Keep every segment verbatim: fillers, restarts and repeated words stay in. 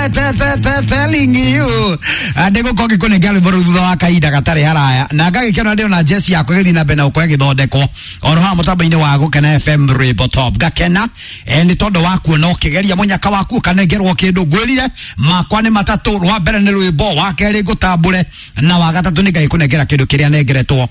Telling you ndä gå ngä rwĩmbo rũu thutha wa kahinda gatarĩ haraya na ngagĩkena ndĩ ona jeci yakwa ĩgĩthiĩ na mbere na gũkorwo ĩgĩthondekwo oro haha mũtambo-inĩ wa Gũkena F M Rwĩmbo Top. Ngakena eh, nĩ tondũ wa kuona ũkĩgeria mũnyaka waku ũkanengerwo kĩndũ. Ngwĩrire makwa nĩ matatũ, rwa mbere nĩ rwĩmbo, wa kerĩ ngũtambũre, na wa gatatũ nĩ ngagĩkũnengera kĩndũ kĩrĩa nengeretwo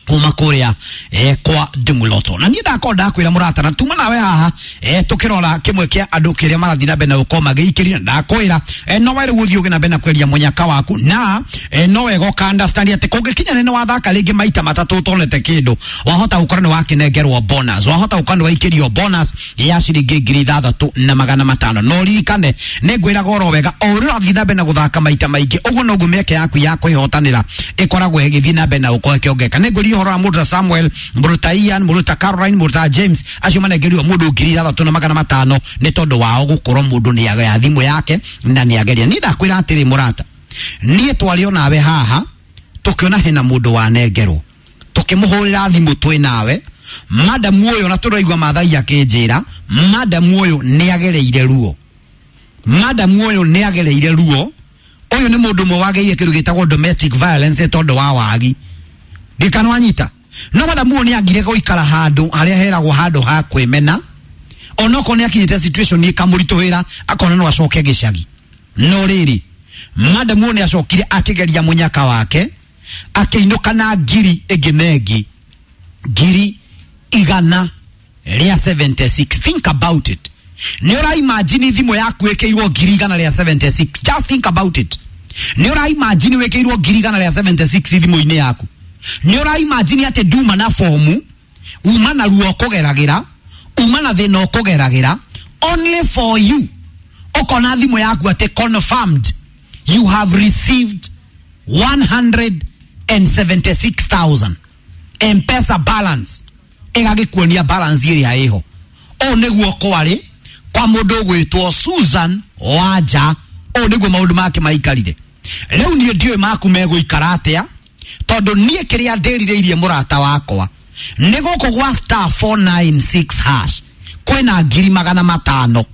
kuma kuria eh, kwa Ndumuloto. Na niĩ ndakorwo ndakwĩra mũrata na tuma nawe haha eh, tukĩrora kĩmwe kĩa andũ kĩrĩa marathiĩ na mbere na gũkorwo magĩikĩria, na ndakwĩra eh, no we rĩu ũthiĩ ũgĩ na mbere na kweria mũnyaka waku, na eh, no wega ũka understand atĩ kũngĩkinya nĩ wathaka rĩngĩ maita matatũ ũtonete kĩndũ, wahota gũkorwo nĩ wakĩnengerwo bonus, wahota gũkorwo nĩ waikĩrio bonus ya ciringi ngiri ithathatũ na magana matano. No ririkane nĩ ngwĩraga oro wega, o ũrĩa ũrathiĩ na mbere na gũthaka maita maingĩ ũguo noguo mĩeke yaku ya kwĩhotanĩra ĩkoragwo ĩgĩthiĩ na mbere na gũkorwo ĩkĩongerereka. Nĩ ngwĩria ũhoro wa mũndũ ta Samuel, mũndũ ta Ian, mũndũ ta Caroline, mũndũ ta James, acio manengerirwo mũndũ ngiri ithathatũ na magana matano nĩ tondũ wao gũkorwo mũndũ nĩ agaya thimũ yake na nĩ ageria. Niĩ ndakwĩra atĩrĩ mũrata, niĩ twarĩ onawe haha tũkĩona hena mũndũ wanengerwo, tũkĩmũhũrĩra thimũ twĩ nawe, madamu ũyũ, na tũraigua Maathai akĩnjĩra madamu ũyũ nĩ agereire ruo, madamu ũyũ nĩ agereire ruo. Ũyũ nĩ mũndũ ũmwe wagereire kĩndũ gĩtagwo domestic violence tondũ wa wagi ndikana wanyita. No madamu ũyũ nĩ angire gũikara handũ harĩa heragwo handũ ha kwĩmena, onokorwo nĩ akinyĩte situation ĩkamũritũhĩra akona no acoke gĩcagi. No rĩrĩ, madamu ũyũ nĩ acokire akĩgeria mũnyaka wake, akĩinũka na ngiri ĩngĩ na ĩngĩ, ngiri igana rĩa seventy six. Think about it. Nĩ ũra imagine thimũ yaku ĩkĩirwo ngiri igana rĩa seventy six. Just think about it. Nĩ ũra imagine wĩkĩirwo ngiri igana rĩa seventy six thimũ-inĩ yaku. Nĩ ũra imagine atĩ nduma na fomu, uma na ruo ũkũgeragĩra, uma na thĩna ũkũgeragĩra, only for you ũkona thimũ yaku atĩ confirmed you have received one hundred and seventy six thousand M-Pesa balance, ĩgagĩkuonia balance ĩrĩa ĩho. Ũũ nĩguo kwarĩ kwa mũndũ ũgwĩtwo Susan Wanja. Ũũ nĩguo maũndũ make maikarire. Rĩu niĩ ndiũĩ maku megũikara atĩa, tondũ niĩ kĩrĩa ndĩrirĩirie mũrata wakwa nĩ gũkũ gwa star four nine six hash kwĩna ngiri magana matano,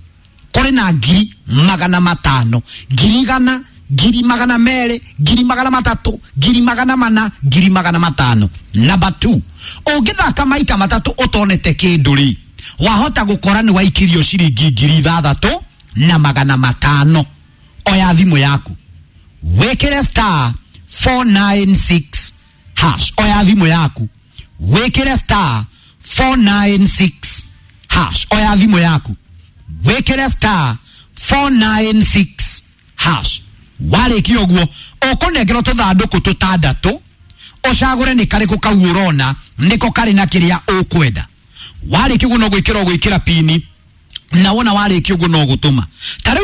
kũrĩ na ngiri magana matano, ngiri igana, ngiri magana merĩ, ngiri magana matatũ, ngiri magana mana, ngiri magana matano. Number two, ũngĩthaka maita matatũ ũtonete kĩndũ rĩ, wahota gũkora nĩ waikirio ciringi ngiri ithathatũ na magana matano. Oya thimũ yaku wĩkĩre star four nine six hash. Oya thimũ yaku wĩkĩre star four nine six hash. Oya thimũ yaku wĩkĩre star four nine six hash. Warĩkia ũguo ũkũnengerwo tũthandũkũ tũtandatũ, ũcagũre nĩ karĩkũ kau ũrona nĩko karĩ na kĩrĩa ũkwenda. Warĩkia ũguo no gwĩkĩra ũgwĩkĩra pini, na wona warĩkia ũguo no gũtũma. Ta rĩu